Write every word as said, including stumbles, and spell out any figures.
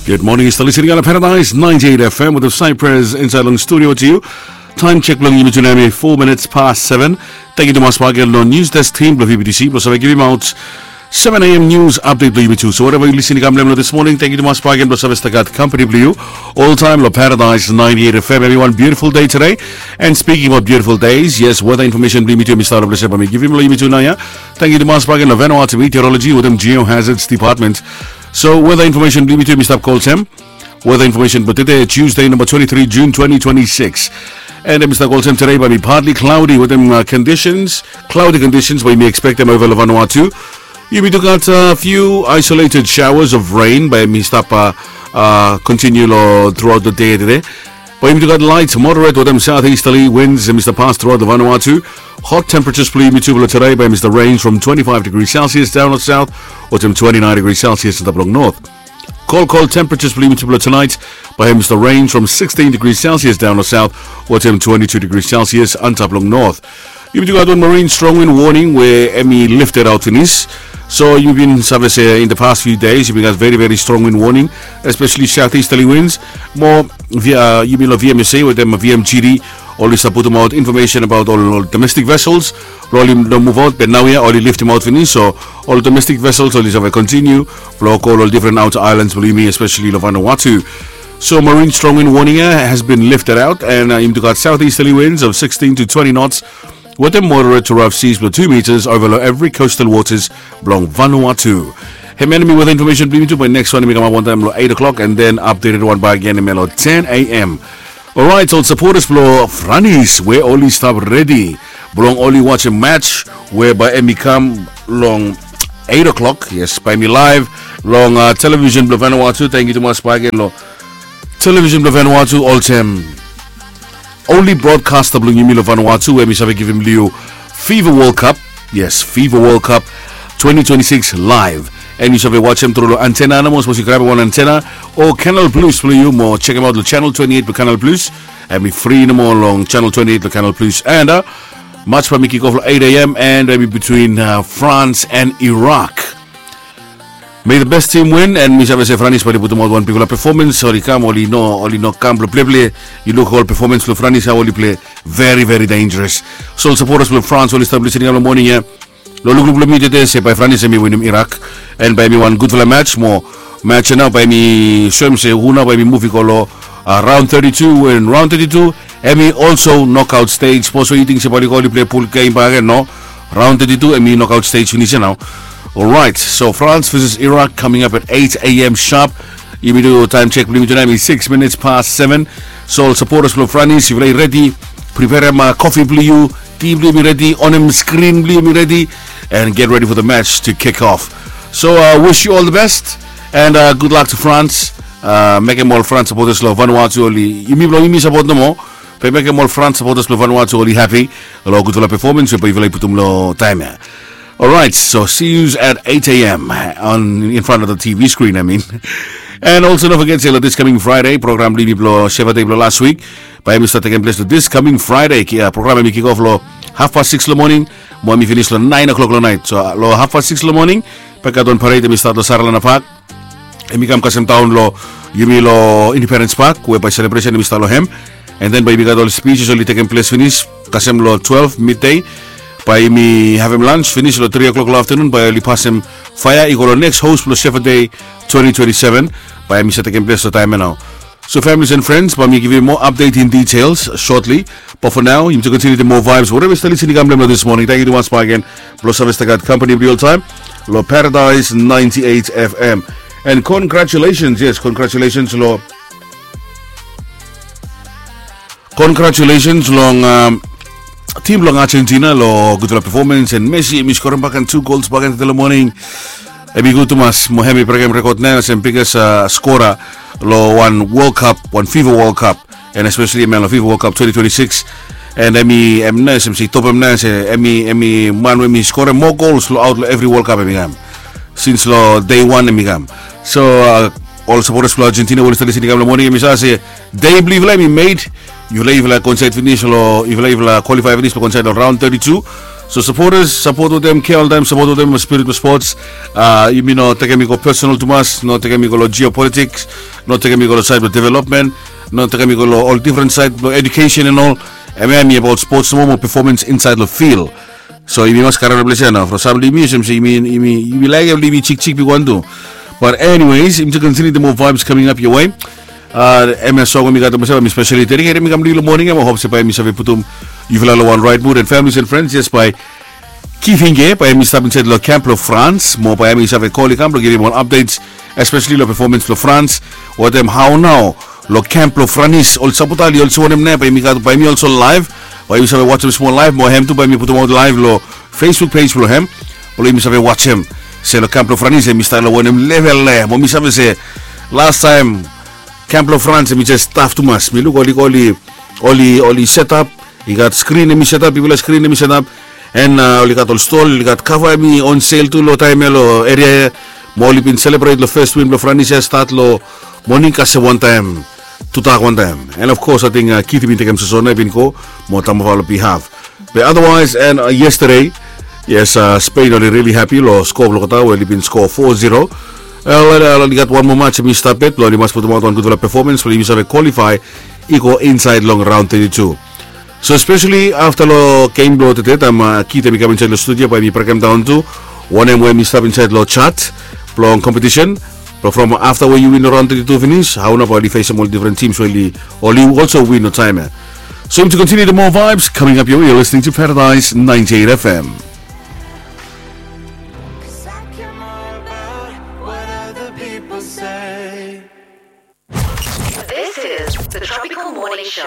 Good morning, yu stap listening on Paradise ninety-eight F M with Cyprus inside long studio to you. Time check bilong yumi tu nau em i four minutes past seven. Thank you tumas bak gen long news desk team bilong V B T C bilong save givim out seven a.m. news update bilong yumi tu. So wherever you listening kam long this morning, thank you tumas bak gen bilong save stagat company bilong you all time long Paradise ninety-eight F M. Everyone, beautiful day today. And speaking about beautiful days, yes, weather information bilong yumi tu mi start up long save mi givim long yumi tu nau ya. Thank you tumas bak gen long Vanuatu Meteorology with them Geohazards Department. So weather information bilong yumi tu mi stap kolsem. Weather information bilong tude Tuesday, number twenty-three June twenty twenty-six. And em i stap olsem today bai mi partly cloudy with them uh, conditions, cloudy conditions bai mi expectem over long Vanuatu. Yumi tu gat a few isolated showers of rain bai mi stap uh, uh, continue lo throughout the day today. Bai yumi tu gat light moderate with them southeasterly winds em i stap pass throughout the Vanuatu. Hot temperatures bilong yumi tu bilong today bai mi stap range from twenty-five degrees Celsius down north south, with them twenty-nine degrees Celsius in the north. Cold, cold temperatures bilong yumi tu bilong tonight bai em i stap range from sixteen degrees Celsius down north south, with them twenty-two degrees Celsius antap long north. Yumi tu gat wan marine strong wind warning we em i lifted out finis. So yumi bin save se in the past few days yumi gat very very strong wind warning, especially southeasterly winds. Mo via yumi lo V M S A with them V M G D oli stap putum out information about all, all domestic vessels. Lo oli no move out, but nau ya oli liftim out finis, so all domestic vessels oli save continue. Lo go lo different outer islands bilong yumi, especially lo Vanuatu. So marine strong wind warning uh, has been lifted out, and uh, yumi tu gat southeasterly winds of sixteen to twenty knots with a moderate to rough seas below two meters over every coastal waters bilong Vanuatu. Hem enemy weather information bilong yumi tu bai next one em i kamap wantaim lo eight o'clock and then updated one by again em lo ten a.m. Alright, ol supporters bilong Franis we oli stap redi bilong oli watchim match we bai em i kam long eight o'clock. Yes, bai mi live long uh, television bilong Vanuatu. Thank you tumas bai again lo television bilong Vanuatu olsem only broadcaster bilong yumi long Vanuatu we mi save givim liu FIFA World Cup. Yes, FIFA World Cup twenty twenty-six live. And yu save watch em tru long antena nomo, sapos yu grab wan antena o Canal Plus bilong yu mo check em out long channel twenty-eight bilong Canal Plus. Em i free nomo long channel twenty-eight bilong Canal Plus. And uh, match bai mi kick off long eight a.m. and em i between uh, France and Iraq. May the best team win, and mi save se Franis bai oli putum out wan bikpela performance. Oli kam, oli no, oli no kam bilong pleple. Yu luk ol performance bilong Franis, how oli play, very very dangerous. So ol supporters bilong France oli stap listening long morning ya. Lo lukluk bilong mi tete se bai Franis em i winim Iraq, and bai em i wan gutpela match mo. Match ya nau bai mi soem se hu nau bai mi muvi go lo uh, round thirty-two, and round thirty-two em i also knockout stage. Sapos we yu ting se bai oli go oli play pool game bak gen, no. Round thirty-two em i knockout stage finis ya nau. Alright, so France versus Iraq coming up at eight a.m. sharp. Yumi tu time check bilong yumi tu nau em i six minutes past seven. So ol supporters bilong Franis, yufala i redi, prepareim uh, coffee bilong yu, tea bilong yumi redi, onem screen bilong yumi redi, and get ready for the match to kick off. So uh, wish you all the best and uh, good luck to France. Uh, mekim ol France supporters long Vanuatu oli, yumi bilong yumi support nomo, be mekim ol France supporters bilong Vanuatu oli happy long gutpela performance we bai yufala i putum long taim ya. Alright, so see yous at eight a.m. on in front of the T V screen, I mean. And also don't forget se lo this coming Friday program bilong yumi bilong Sheva Day bilong last week bai em i start taking place lo this coming Friday. Ki- uh, program em i kick off lo half past six lo morning mo em i finish lo nine o'clock lo night. So uh, lo half past six lo morning bai gat wan parade em i start lo Saralana Park. Em i kam kasem daun lo yumi lo Independence Park we bai celebration em i start lo hem. And then bai yumi gat ol speeches oli tekem ples finis kasem lo twelve midday. Bai yumi havem lunch finis lo three o'clock lo afternoon bai oli pasem fire i go lo next host lo Shepherd Day twenty twenty-seven. Bai yumi sa tekem ples lo taim ya nau. So families and friends, bai mi givim more update in details shortly. But for now, yumi tu continue the more vibes wherever you stay listening kam long this morning. Thank you tumas bai again. Blo save stagat company bilong yumi all time lo Paradise ninety-eight F M. And congratulations, yes, congratulations lo congratulations long um, team long Argentina lo gutpela performance, and Messi em i skorem bak gen two goals bak gen tete lo morning. Em i gut tumas mo hem i brekem rekod nau olsem biggest uh, scorer lo wan World Cup, wan FIFA World Cup, and especially em lo FIFA World Cup twenty twenty-six. And em i em nau olsem se i topem nau se em i em i man we em i skorem more goals lo out lo every World Cup em i kam since lo day one em i kam. So uh, ol supporters bilong Argentina we oli stap listening kam long morning, em i save se day bilong yufala em i made. Yufala yufala qualified finis lo yufala yufala qualify finis lo qualified lo round thirty-two. So supporters, sapot wetem kea oltaem, sapot wetem spirit blong spots. Yumi no tekem i go personal tumas, no tekem i go long geopolitiks, no tekem i go long saed blong development, no tekem i go long ol difren saed blong edukesen and ol. Em ya em i abaot spots nomo mo pefomans insaed long fil. So yumi mas karem long ples ya nao from sam long yumi olsem se yumi laekem long yumi jikjik bigwan tu. Bat eniwes yumi tu kontiniu de moa vaebs kaming ap yowe. Em ya song we mi gat long mi spesali dediketem i kam long yu long moning ya mo hop se bae mi save putum yufala long wan raet mud and familis and frens jes bae kifing ya bae mi stap insaed long kemp blong frans mo bae mi save kol i kam blong givim ol apdets, espesali long pefomans blong frans. Wetem hao nao long kemp blong franis ol sapotal i olsem wanem nao bae mi gat bae mi olsem laev. Bae yumi save wajem smol laev mo hem tu bae mi putumaot laev long facebook pej blong hem blong yumi save wajem se long kemp blong franis em i stap long wanem level ya mo mi save se lastaem kemp blong frans em i jes staf tumas mi luk oli oli oli oli setap. I gat skrin em i setap bigfala skrin em i setap. En oli gat ol stol oli gat kava em i on sel tu long taem ya long eria ya mo oli bin selebret long fes win blong franis ya stat long moning kasem wantaem tudak wantaem. En of kos ating kiti bin tekem sosona i bin go mo tambafa long bihaf. Be adawaes en yestade yes, spein oli rili hapi long skoa blong olgeta we oli bin skoa fo zero. Oli gat wan moa mats em i stap yet blong oli mas putumaot wan gudfala pefomans blong yumi save kwalifae i go insaed long raon teti tu. So spesali afta long gem blong tete taem kit em i kam insaed long studio bae mi brekemdaon tu wanem we em i stap insaed long jat blong kompetisen blong from afta we yu win long raon teti tu finis hao nao bae oli fesem ol difren tims we oli olso win long taem ya. So yumi tu kontiniu de moa vaebs kaming ap yowe yu lisning tu paradaes naenti eit fm.